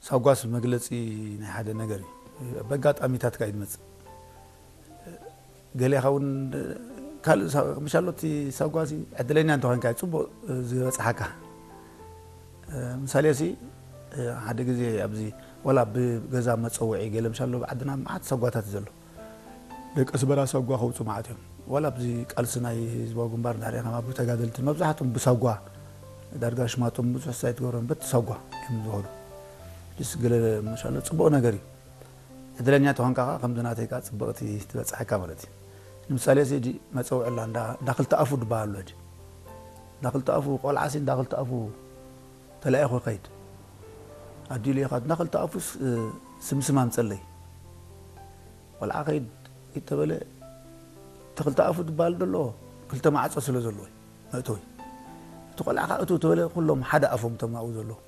ሳጓስ መግለፂ ናይ ሓደ ነገር እዩ። በጋጣሚታት ካ ይመፅእ ገሌኻ እውን ካልእ ሳ- ምሻሎ እቲ ሳጓሲ ዕድለኛ እንተኾንካ እዩ ፅቡቅ ዝበፅሓካ። ምሳሌ ሲ ሓደ ግዜ ኣብዚ ወላ ብገዛ መፀውዒ ገለ ምሻሎ ብዓድና መዓት ሳጓታት ዘሎ ደቂ ኣስመራ ሳጓ ከውፁ መዓት እዮም። ዋላ ኣብዚ ቃልሲ ናይ ህዝባዊ ግንባር እንዳርኢኻ ኣብ ተጋደልቲ መብዛሕትኦም ብሳጓ ዳርጋ ሽማቶም ብዙሕ ሳይት ገብሮም በቲ ሳጓ እዮም ዝበሉ። ዲስ ገለ ምሻሎ ፅቡቅ ነገር እዩ። ዕድለኛ ተኾንካ ከዓ ከምዚ ናተይ ከዓ ፅብቕቲ ትበፅሐካ ማለት እዩ። ንምሳሌ እዚ ሕጂ መፀውዒ ኣላ እንዳ እንዳ ክልተ ኣፉ ዝበሃል ኣሎ። ሕጂ እንዳ ክልተ ኣፉ ቆልዓ ሲ እንዳ ክልተ ኣፉ ተላኢኹ ይኸይድ። ኣዲኡ ኢኻ እንዳ ክልተ ኣፉ ስ- ስምስም ኣምፀለይ። ቆልዓ ከይድ ይተበለ እቲ ክልተ ኣፉ ዝበሃል ዘሎ ክልተ ማዕፆ ስለ ዘለዎ እዩ መእተዊ። እቲ ቆልዓ ከዓ እቱ ተበለ ኩሎም ሓደ ኣፎም ተማኡ ዘለዎ